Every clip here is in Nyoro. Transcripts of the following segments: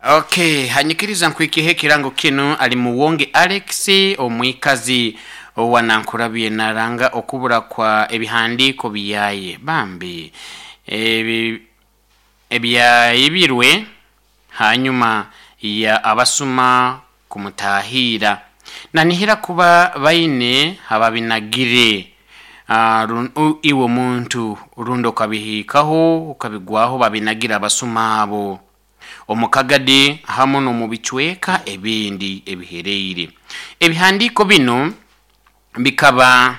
Okay, hanyikiriza nkuikihe ekirango kinu ali Muwonge Alex, omwikazi owa Nankurabye, naranga okubura kwa ebihandiiko byaye bambi ebi ebyaibirwe hanyuma ya abasuma kumutahiira. Nanihira kuba baine hababinagire. Iwe omuntu rundi okabihikaho okabigwaho babinagira abasuma abo omu Kagadi hamu n'omu bicweka ebindi ebihereire. Ebihandiiko binu bikaba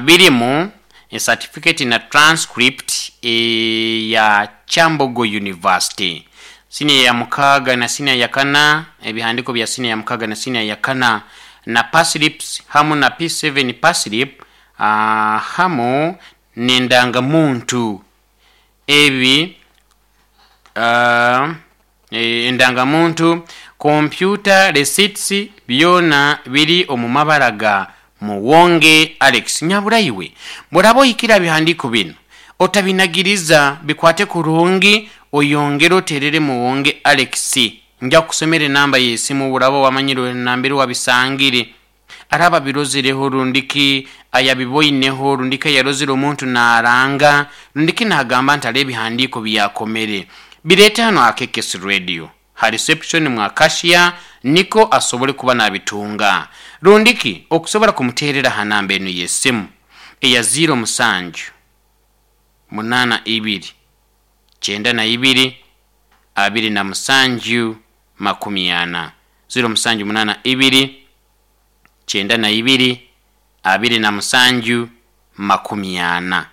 birimu certificate na transcript eya Kyambogo University, siniya ya mukaaga na siniya ya kana, ebihandiiko bya siniya ya mukaaga na siniya ya kana, na payslips hamu na P7 payslip, hamu n'endangamuntu. Ebi endangamuntu, computer receipts, byona biri omu mabara ga Muwonge Alex. Nyaburaiwe, bworaba ohikire aha bihandiiko binu, otabinagiriza, bikwate kurungi, oyongere oterere Muwonge Alex. Nja kukusomera enamba y'esimu buraba wamanyire nambere wabisangire. Araba abirozereho rundiki ayabiboineho rundiki ayarozere omuntu naranga rundiki nagamba nti hariho ebihandiiko byakomere, bireete hanu aha KKS Radio ha reception mwa cashier niko asobole kuba nabitunga. Rundiki okusobora kumuterera ha namba enu y'esimu eya ziiro musanju munaana ibiri kyenda na ibiri abiri na musanju makumi ana, ziiro musanju munaana ibiri kyenda na ibiri abiri na musanju makumi ana.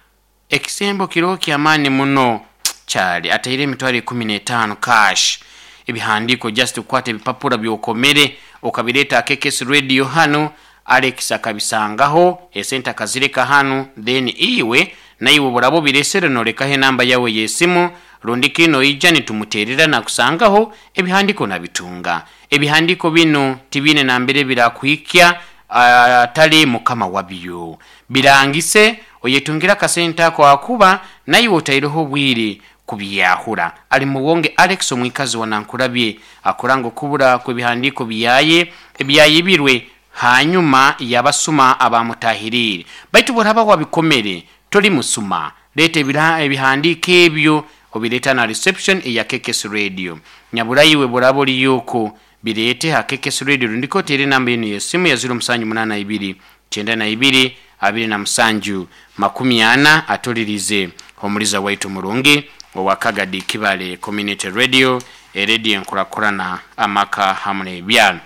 Ekisembo kiroho ky'amaani muno kyali ataire emitwaro ikumi n'etaano cash. Ebihandiiko just kukwata ebipapura byokomere okabireeta aha KKS Radio hanu, Alex akabisangaho, esente akazireka hanu, then iwe naiwe obu oraaba obiresere nolekaho enamba yawe y'esimu, rundiki noija nitumuterera nakusangaho ebihandiiko nabitunga. Ebihandiiko binu tibiine nambere birakuhikya atali mukama wabyo. Birangise oyetungire akasente ako ahakuba naiwe otaireho obwire kubyahura. Ali Muwonge Alex, omwikazi wa Nankurabye, akuranga okubura kw'ebihandiiko byaye ebyayibirwe hanyuma y'abasuma abamutahiriire. Baitu bworaba wabikomere toli musuma, leeta ebihandiiko ebyo obireeta na reception eya KKS Radio. Nyaburaiwe bworaba oriyo oku bireete ha KKS Radio rundiki oteere enamba enu y'esimu ya ziiro musanju munaana ibiri kyenda na ibiri abiri na musanju makumi ana atulirize omuliza waitu murungi owa Kagadi Kibale Community Radio, erediyo enkurakurana amaka hamu n'ebyaro.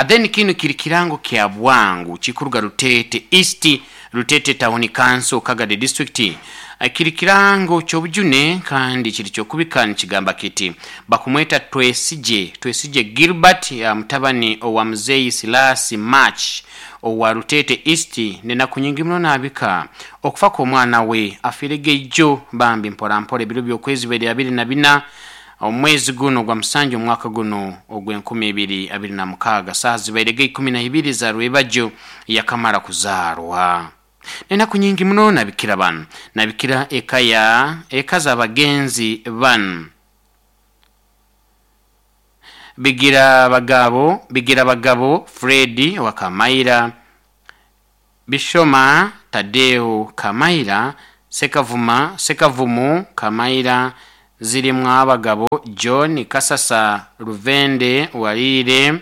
Then kinu kiri kirango kya bwangu kikuruga Rutete East, Rutete Town Council, Kagadi District. Kiri kirango ky'obujune kandi kiri ky'okubika nikigamba kiti bakumweta Twesigye, Twesigye Gilbert, mutabani owa muzeeyi Silasi March owa Rutete East, nenaku nyingi muno nabika okufa kw'omwana we afiire geijo bambi mpora mpora ebiro by'okwezi bibiri abiri na bina omwezi guno ogwa musanju omwaka guno ogw'enkumi ibiri abiri na mukaaga, saaha zibairege ikumi na ibiri za rwebagyo yakamara kuzaarwa. Nenaku nyingi muno nabikira banu, nabikira eka ya eka z'abagenzi banu Bigira Bagabo, Bigira Bagabo Fred wa Kamaira, Bishoma Tadeo Kamaira, Sekavuma, Sekavumu Kamaira, Zirimwa Abagabo John Kasasa Ruvende Warire,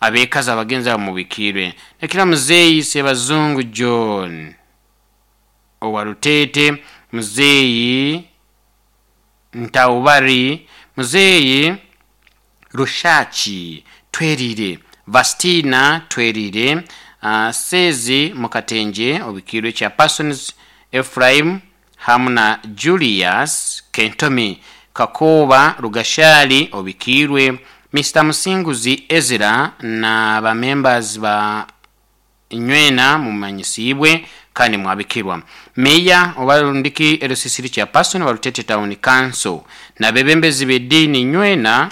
abekazi abagenzi abo mubikirwe. Nekira muzeeyi Sebazungu John owa Rutete, muzeeyi Ntaubari, muzeeyi Rushaki Twerire, Vastina Twerire, Sezi Mukatenje obikirwe kya Persons Ephraim hamu na Julius Kentomi Kakoba Rugashali obikirwe, Mr Musinguzi Ezra na ba members ba nywena mumanyisibwe kandi mwabikirwa. Meya oba rundiki erusisiri kya Person wa Rutete Town Council na bebembezi b'ediini nywena,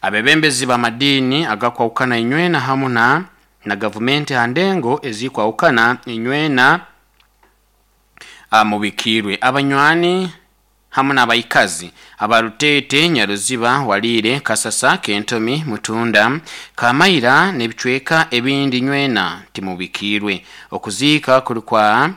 abebembezi b'amadiini agakwahukana inywena hamu na gavumenti ha ndengo ezikwahukana inywena. Mubikiirwe abanywani hamu n'abaikazi abarutete, Nyaruziba, Waliire, Kasasa, Kentomi, Mutunda, Kamaira n'ebicweka ebindi nywena timubikiirwe. Okuziika kuli kwa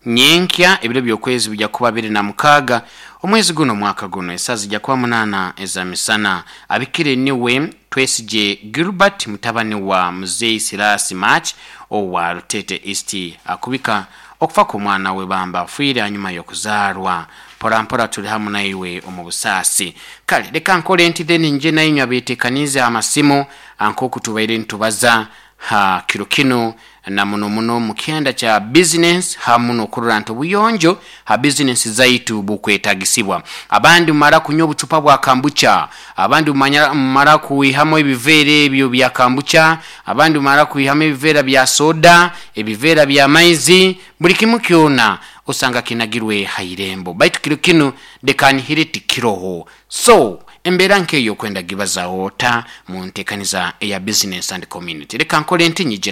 nyenkya ebiro by'okwezi bijja kuba 26 omwezi guno omwaka guno, esaaha zijja kuba 8 ez'amisana. Abikire niwe Twesigye Gilbert, mutabani wa Muzeeyi Sirasi March owa Rutete East, akubika okufa kw'omwana we bamba afiire hanyuma y'okuzaarwa. Mpora mpora tuli hamu naiwe omu busaasi. Kale leka nkole nti then nje nainywe abeetekaniize amasimu nk'oku tubaire nitubaza ha kiro kinu, na muno muno mu kyanda kya bizinensi hamu n'okurora nti obuyonjo ha bizinensi zaitu bukwetagisibwa. Abandi mumara kunywa obucupa bwa kambucha, abandi mumara kwihamu ebiveera ebyo bya kambucha, abandi mumara kwihamu ebiveera bya soda, ebiveera bya maizi, buli kimu kyona osanga kinagirwe ha irembo. Baitu kiro kinu leka nihire tikiroho. So embeera nk'eyo okwenda gibazaho ota mu nteekaniza eya business and community? Leka nkole nti nyije.